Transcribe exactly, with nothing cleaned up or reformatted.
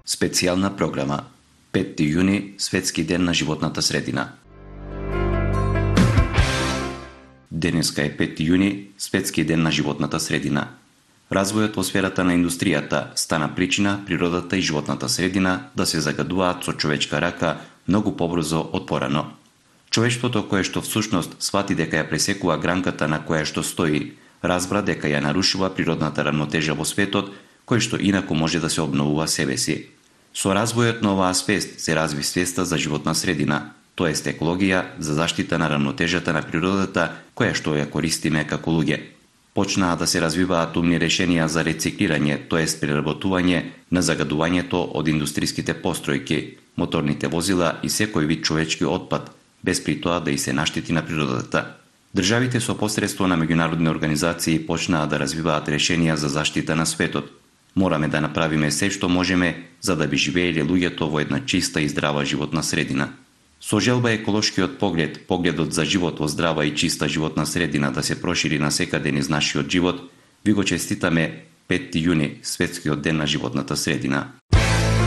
Специјална програма петти јуни, Светски ден на животната средина. Денеска е петти јуни, Светски ден на животната средина. Развојот во сферата на индустријата стана причина природата и животната средина да се загадуваат со човечка рака многу побрзо од порано. Човештвото кое што всушност свати дека ја пресекува гранката на која што стои, разбра дека ја нарушува природната рамнотежа во светот, кој што инаку може да се обновува себе си. Со развојот на оваа свест се разви свеста за животна средина, тоест екологија за заштита на рамнотежата на природата која што ја користиме како луѓе. Почнаа да се развиваат умни решенија за рециклирање, тоест преработување на загадувањето од индустриските постројки, моторните возила и секој вид човечки отпад, без при тоа да и се наштети на природата. Државите со посредство на меѓународни организации почнаа да развиваат решенија за заштита на светот. Мораме да направиме се што можеме за да би живееле луѓето во една чиста и здрава животна средина. Со желба еколошкиот поглед, погледот за живот во здрава и чиста животна средина да се прошири насекаде низ нашиот живот, ви го честитаме петти јуни, Светскиот ден на животната средина.